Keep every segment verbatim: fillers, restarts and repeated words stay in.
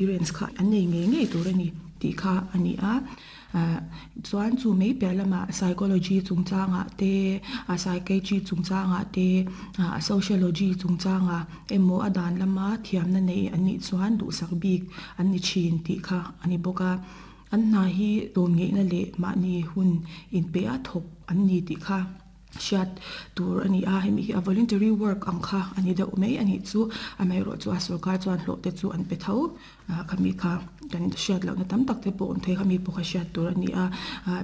Experience kha an nei ngei ngei tur a ni tih kha a ni a. Chuan chu mai piah lamah psychology chungchangah te, a psychiatry chungchangah te, a sociology chungchangah emaw a dan lama thiamna nei an nih chuan duhsak bik an ni thin tih kha a ni bawk a. An hna hi tlawm ngeihna leh mahni hun inpe a thawk an ni tih kha hriat tur a ni a. Hemi hi a voluntary work ang kha a ni deuh mai a nih chu. Amaherawhchu a sorkar chuan hlawh te chu an pe tho. Khami kha kan hriat lohna tam tak te pawh awm thei khami pawh kha hriat tur a ni a.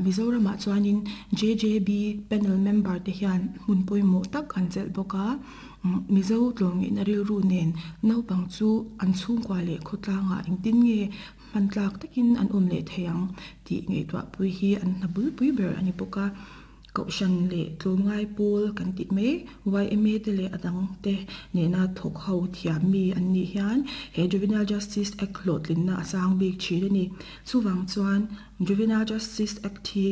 Mizoramah chuanin J J B panel member te hian hmun pawimawh tak an chelh bawk a. Mizo tlawmngeihna rilru nen naupang chu an chhungkua leh khawtlangah engtin nge hman tlak takin an awm leh thei ang tih ngaihtuahpui hi an hna bulpui ber a ni bawk a. Kohhran leh tlawmngai pawl kan tih mai Y M A te leh a dang te nena thawk ho thiam mi an nih hian he Juvenile Justice Act hlawhtlinna a sang bik thin a ni. Chuvang chuan Juvenile Justice Act hi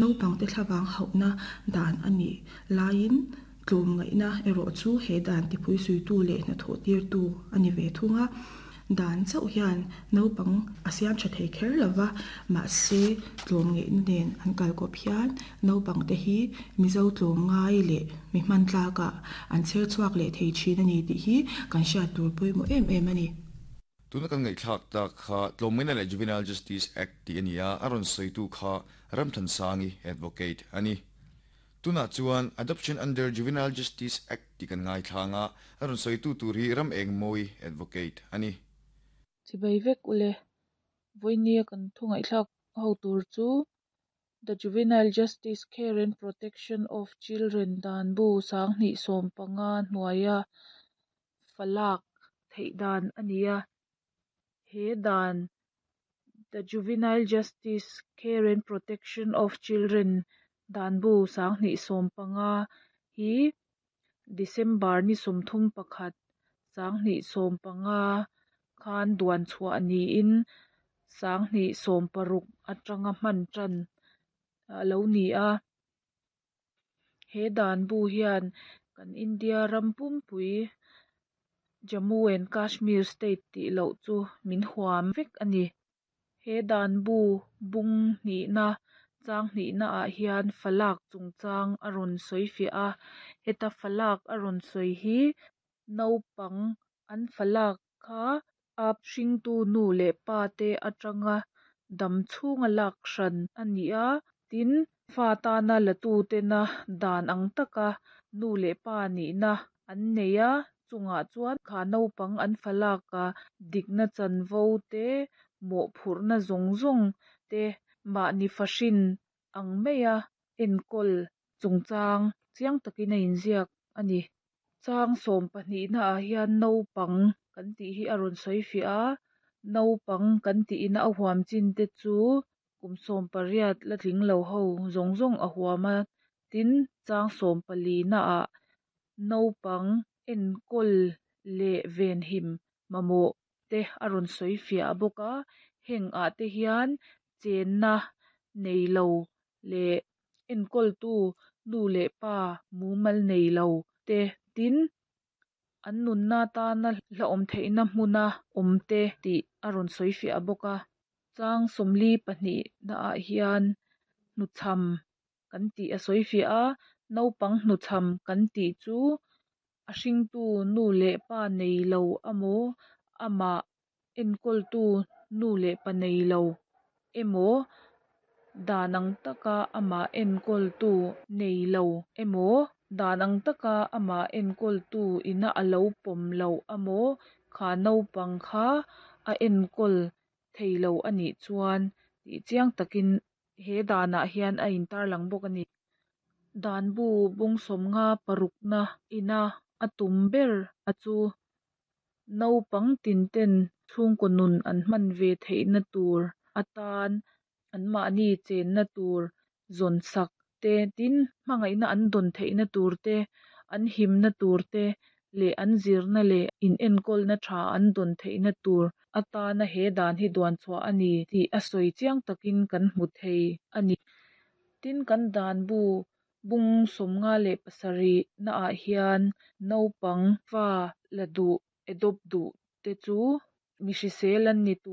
naupang te thlavang hauhna dan a nih laiin tlawmngaihna erawh chu he dan tipui suitu leh hnathawh tirtu a ni ve thung a. Dan chauh hian naupang a siam tha thei kher lova, mahse tlawmngeihna nen an kalkawp hian naupang te hi Mizo tlawmngai leh mi hman tlakah an chher chhuak leh thei thin a ni tih hi kan hriat tur pawimawh em em a ni. Tuna kan ngaihthlak tak kha Tlawmngaihna leh Juvenile Justice Act tih a ni a, a rawn sawitu kha Ramthansangi, advocate a ni. Tunah chuan Adoption under Juvenile Justice Act tih kan ngaithla a, a rawn sawitu tur hi Ram Engmawi, advocate a ni. Chibai vek ule. Vawinia kan thu ngaihthlak ho tur chu The Juvenile Justice Care and Protection of Children Dan Bu sanghnih sawm panga hnuaia falak theih dan a ni a. He dan The Juvenile Justice Care and Protection of Children Dan Bu sanghnih sawm panga hi December ni sawmthum pakhat sanghnih sawm panga khan duan chhuah niin sanghnih sawm paruk atanga hman tan alo ni a. He dan bu hian kan India ram pumpui, Jammu and Kashmir state tih loh chu min huam vek a ni. He dan bu bung hnihna chang hnihna ah hian falak chungchang a rawn sawi fiah a. Heta falak a rawn sawi hi naupang an falak kha a hringtu nu leh pa te atanga dam chhunga lak hran a ni a. Tin, fa tana la tu tena dan ang taka nu leh pa nihna an nei a, chungah chuan kha naupang an falak a dikna chanvo te, mawhphurhna zawng zawng te, mahni fahrin ang maia enkawl chungchang chiang takin a inziak a ni. Chang sawm pahnihna ah hian naupang kan tih hi a rawn sawi fiah a. Naupang kan tihna a huam chin te chu kum sawm pariat la tling lo ho zawng zawng a huam a. Tin, chang sawm palina ah naupang enkawl leh venhim mamawh te a rawn sawi fiah bawk a. Heng ah te hian chenna neilo leh enkawltu nu leh pa mumal neilo te, tin, an nunna tana hlauhawm theihna hmuna awm te tih a rawn sawi fiah bawk a. Chang sawmli pahnih na ah hian hnuchham kan tih a sawi fiah a. Naupang hnuchham kan tih chu a hringtu nu leh pa neilo emaw, amah enkawltu nu leh pa neilo emaw, dan ang taka amah enkawltu neilo emaw, dan ang taka amah enkawltu ina alo pawm loh emaw, kha naupang kha a enkawl theilo anih chuan tih chiang takin he danah hian a intarlang bawk a ni. Dan bu bung sawmnga parukna ina a tum ber a chu naupang tin ten chhungkaw nun an hman ve theihna tur atan anmahni chenna tur zawn sak te, tin, hmangaihna an dawn theihna tur te, an himna tur te leh an zirna leh in enkawlna tha an dawn theihna tur atana he dan hi duan chhuah a ni tih a sawi chiang takin kan hmu thei a ni. Tin, kan dan bu bung sawmnga leh pasarih na ah hian naupang fa la duh, adopt duh te chu mi hrisel an ni tur